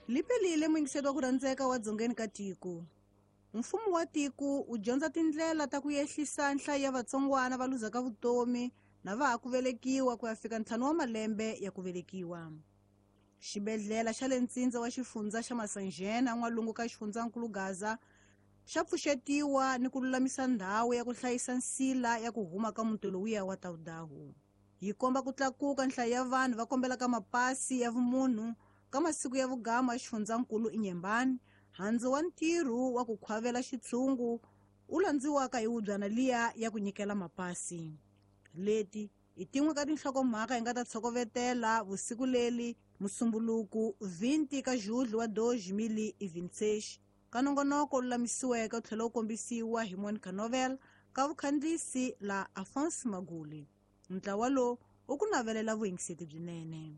Lipelile muyingiseri wa ku rhandzeka wa dzongeni ka tiko. Mfumo wa tiko wu dyondza tindlela ta ku yehlisa nhlayo ya vatsongwana va luzaka vutomi na va ha ku velekiwa ku ya fika 5 wa malembe ya ku velekiwa. Xibedhlele xa le ntsindza wa xifundza xa Masanjena n'walungu ka xifundzankulu Gaza xa pfuxetiwa ni ku lulamisa ndhawu ya ku hlayisa nsila ya ku huma ka muti lowuya wa Taudahu. Yi komba ku tlakuka nhlayo ya vanhu va kombelaka mapasi ya vumunhu ka masiku ya vugama ya xifundzankulu Inyembani, handzu wa ntirho wa ku khwavela xitshungu wu landziwaka hi wubyana liya ya ku nyikela mapasi. Leti i tin'we ka tinhlokomhaka hi nga ta tshokovetela vusiku leli Musumbuluku 20 ka Julho wa 2026 ka nongonoko lulamisiweke wu tlhela wu kombisiwa hi Monica Novel ka vukhandziyisi la Alphonse Maguli. Ntlawa lowu wu ku navelela vuyingiseti byinene.